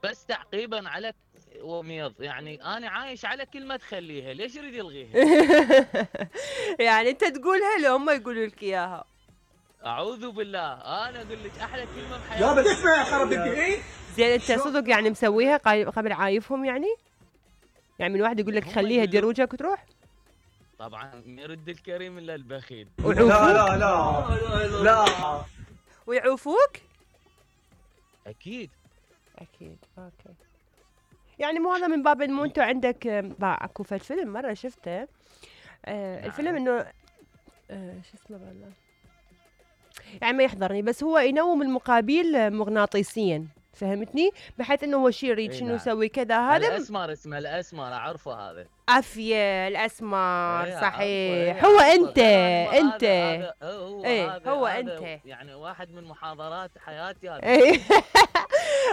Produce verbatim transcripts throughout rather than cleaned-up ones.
بس تعقيبا على وميض، يعني انا عايش على كلمه تخليها، ليش يريد يلغيها؟ يعني انت تقولها لو هم يقولوا لك اياها؟ اعوذ بالله، انا اقول لك احلى كلمه بحياتي. يابا تسمع يا خرب الدين. زين انت صدق يعني مسويها قبل عايفهم يعني؟ يعني من واحد يقول لك خليها دير وجهك وتروح؟ طبعا ما يرد الكريم الا البخيل. لا لا لا لا ويعوفوك؟ اكيد اكيد. اوكي. يعني مو هذا من باب انه انتم عندك اكو فيلم مره شفته، آه نعم. الفيلم انه آه شو اسمه والله يعني ما يحضرني، بس هو ينوم المقابل مغناطيسيا، فهمتني؟ بحيث انه هو شيء يريد شنو يسوي كذا. هذا الاسمر، اسمه الاسمر، اعرفه هذا. عافيه الاسمر. ايه صحيح. هو انت انت هذا هو ايه هذا هو هذا انت يعني واحد من محاضرات حياتي هذا. ايه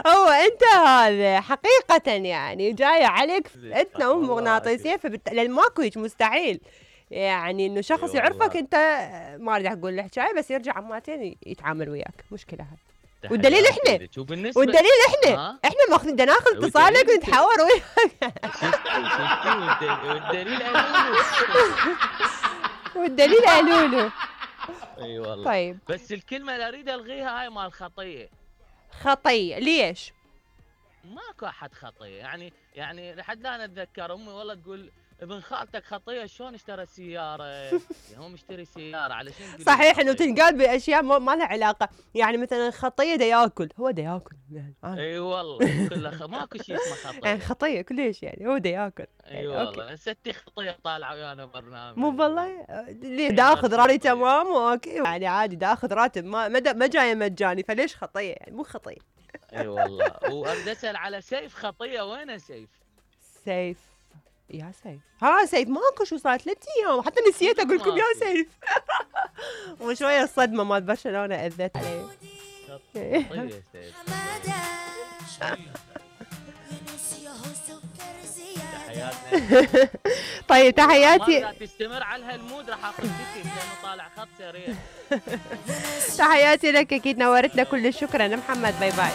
هو انت هذا حقيقه، يعني جايه عليك انت نوم مغناطيسيه، فبالتالي ماكو هيك مستحيل يعني انه شخص يعرفك انت، ما اريد اقول له حكايه، بس يرجع عماتين يتعامل وياك، مشكله هذا. والدليل احنا والدليل احنا احنا ماخذين بدنا ناخذ اتصالك ونتحاور وياك. والدليل قالوا والدليل قالوا له. اي والله. طيب بس الكلمه اللي اريد الغيها هاي مال خطيه. خطيه ليش؟ ماكو احد خطيه، يعني يعني لحد الان اتذكر امي والله تقول ابن خالتك خطيه شلون اشترى سياره؟ يعني هو مشتري سياره علشان صحيح انه تنقال باشياء ما لها علاقه، يعني مثلا خطيه دا ياكل، هو دا ياكل يعني. اي والله كله خ... ماكو شيء اسمه خطيه، يعني خطيه كلش يعني هو دا ياكل. اي والله. ستي خطيه طالعه ويانا برنامج. مو والله ليه دا اخذ راتب تمام اوكي، يعني عادي دا اخذ راتب، ما ما جايه مجاني، فليش خطيه؟ يعني مو خطيه. اي والله. واريد اسال على سيف خطيه، وين سيف؟ سيف يا سيف، ها سيف ماكو، شو صار ثلاث ايام حتى نسيت اقول لكم يا سيف. وشويه الصدمه مال برشلونه اذت علي. طيب تحياتي. تستمر على هالمود راح اخذ بيتي لانه طالع خط سريع. تحياتي لك، اكيد نورتنا، كل الشكر. انا محمد، باي باي.